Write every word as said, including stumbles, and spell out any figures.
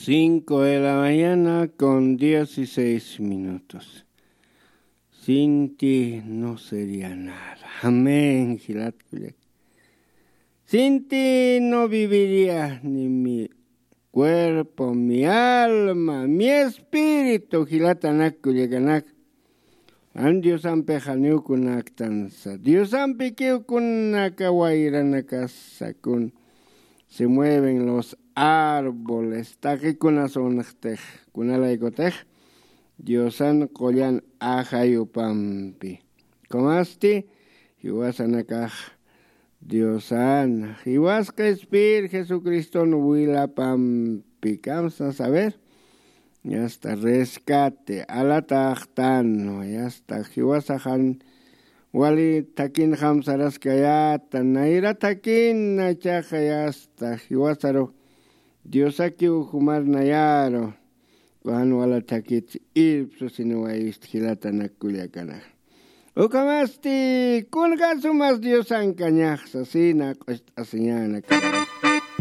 Cinco de la mañana con dieciséis minutos. Sin ti no sería nada. Amén, jilat kullak. Sin ti no viviría ni mi cuerpo, mi alma, mi espíritu, jilatanak kullakanak. An Diosampi janiw kunaktansa. Diosampi kiw kunaka wayranakasa kun. Se mueven los árboles, taqi kunasunxtix, kunalaykutix Diosan qullan ajayupampi. Kumasti jiwasanakax Diosan, jiwasqa Espir Jesucriston wilapampi, kamsa saber, yasta rescate, alataxtan, yasta jiwasaxan wali thakinxam saraskayäta, nayra thakin, ichaxa yasta jiwasaru Diosakiw jumarnayaru, Juan wala thakit irpsu siniwayist jilatanak kullakanak. Ukamasti, kunjasumas Diosankañax sasina q'ust'asiñanak.